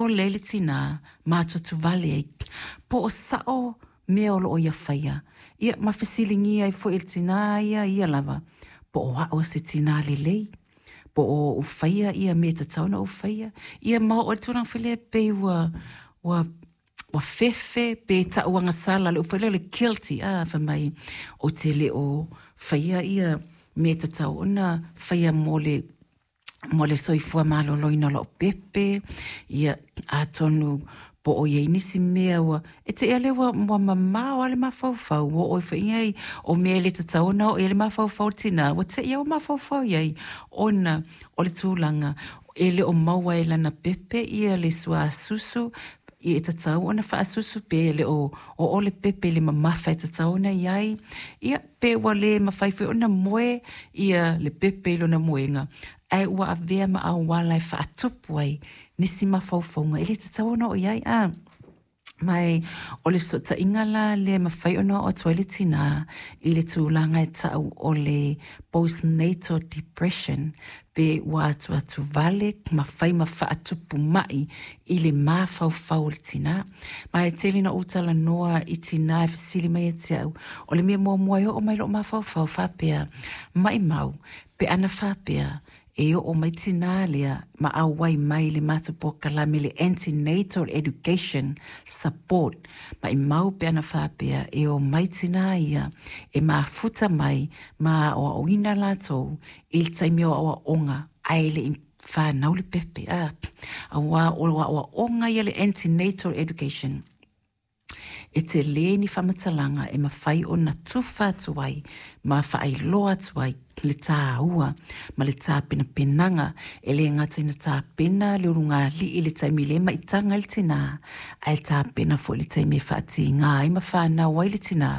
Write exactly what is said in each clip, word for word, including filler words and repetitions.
Popole ai le tinā ma atuatuvale ai po o saʻo mea o loo ia faia. Ia ma fesiligia ai foi e le tinā ia ia lava po o a'u o se tinā lelei, po o ou faia ia mea e tatau ona ou faia. Ia ma oo i le tulaga foi lea pei ua ua ua fefe pe tauagasala, le upu foi lea o le guilty, a fai mai ou te le o faia ia mea e tatau ona faia mo le mo le soifua maloloina o la'u pepe. Ia atonu po o i ai nisi mea ua e te i lea ua, ua mamao lava le mafaufau, ua oo ai foi i ai o mea e le tatau ona oo i ai le mafaufau o le tinā, ua te i ua mafaufau i ai ona o le tulaga e le o maua e lana pepe ia le suasusu e tatau ona faasusu, pe le o oo le pepe i le mamafa e tatau ona i ai. Ia pe ua le mafai foi ona moe ia le pepe i lona moega, ae ua avea ma auala e faatupu ai nisi mafaufauga e le tatau ona oo i ai. A ma o le fesootaiga la lea e mafai ona oo atu ai le tinā i le tulaga e tau o le postnatal depression, pe ua atuatuvale ma fai ma faatupu mai i le mafaufau o le tinā. Ma e tele na ou talanoa i tinā e fesili mai ia te au, o le mea muamua e oo mai lou mafaufau faapea, maimau pe ana faapea e oo mai tinā lea ma auai mai le matou polokalame le antenatal education support. Maimau pe ana faapea e o mai tinā ia e mafuta mai ma aoaoina latou i le taimi o aoaoga ae le i whanau le pepe. A, auā o aoaoga ia le antenatal education e tele ni faamatalaga e mafai ona tufa atu ai ma faailoa atu ai le tāua ma le tapenapenaga e le gata ina tapena le ulugalii i le taimi le maitaga i le tinā, ae tapena foi le taimi e faatigā ai ma whanau ai le tinā.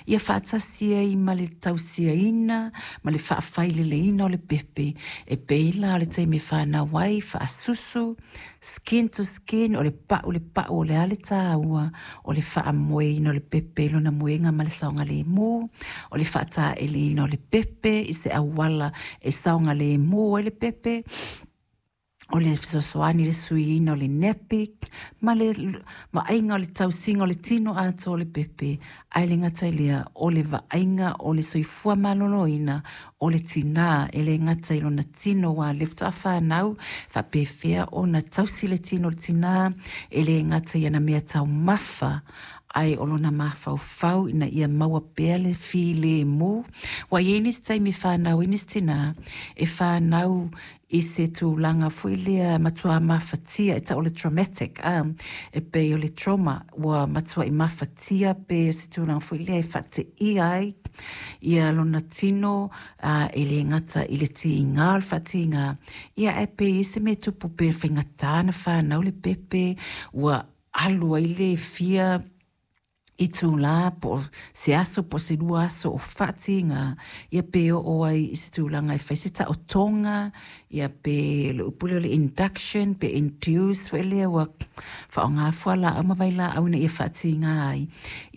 Ia faatasi ai ma le tausiaina ma le faafaileleina o le pepe e pei la o le taimi e whanau ai faasusu, skin to skin, o le pau le pau o le a le tāua o le faamoeina o le pepe i lona moega ma le saogalemu, o le faataeleina o le pepe i se auala e saogalemu ai le pepe, o le fesoasoani le suiina o le nappy ma le vaaiga o le tausiga o le tino atoa o le pepe. Ae le gata i lea o le vaaiga o le soifua maloloina o le tinā e le gata i lona tino ua le faatoa whanau faapefea ona tausi le tino o le tinā e le gata i ana mea taumafa ae o lona mafaufau ina ia maua pea le filemu. Ua i ai nisi taimi e whanau ai nisi tinā e whanau i se tulaga foi lea matua mafatia e tau o le traumatic, a e pei o le trauma ua matua i mafatia pe o se tulaga foi lea e faateia ai ia lona tino, a, e le gata i le tiga o le faatiga ia ae pei se mea tupu pe faigata na whanau le pepe ua alu ai le fia i tūlā po o se aso po o se lua aso o faatiga ia pe oo ai i se tulaga e fai se taotoga ia pe le upu lea o le induction pe induce foi lea ua faaaoga fualaau ma vailaau ina ia faatiga ai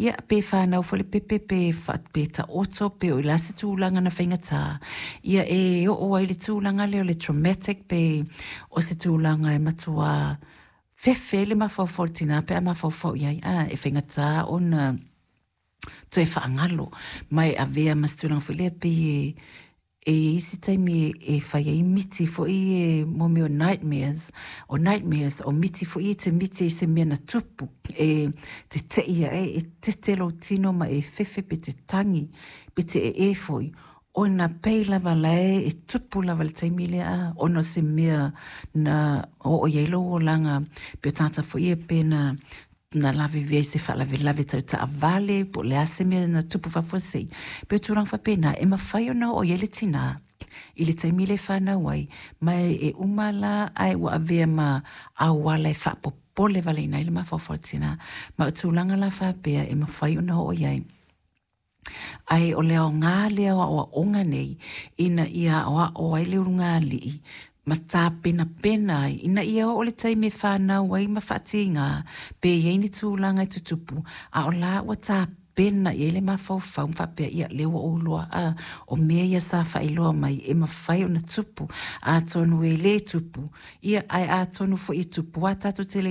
ia pe whanau foi le pepe pe, fa, pe taoto pe o i la se tulaga na faigata ia e oo ai le tulaga lea o le traumatic pe o se tulaga e matua fefe le mafaufau o le tinā pe a mafaufau i ai a e faigata ona toe faagalo ma e avea ma se tulaga foi lea pei e e i ai isi taimi e fai ai miti foi e mo mea o nightmares, o nightmares o miti foi e te miti ai se mea na tupu e te tei ae e tete lou tino ma e fefe pe te tangi pe te ee foi ona pei lava lae e tupu lava le taimi lea a ona o se mea na oo i ai lou olaga pe o tagata foi ia pe na na lavevea i se faalavelave tau taavale po o le a se mea na tupu faafuasei pe o tulaga faapena e mafai ona oo i ai le tinā i le taimi le whanau ai ma e uma la ae ua avea ma auala e faapopole valeina ai le mafaufau o le tinā ma o tulaga la faapea e mafai ona oo i ai. Ae o le aoga lea o aoaoga nei ina ia aoao ai le ulugalii ma tapenapena ai ina ia oo le taimi e whanau ai ma faatiga pe i ai ni tulaga e tutupu a o la ua tapena i ai le mafaufau ma faapea ia lea ua ou iloa a o mea ia sa faailoa mai e mafai ona tupu atonu e lē tupu ia ae atonu foi e tupu a tatou te le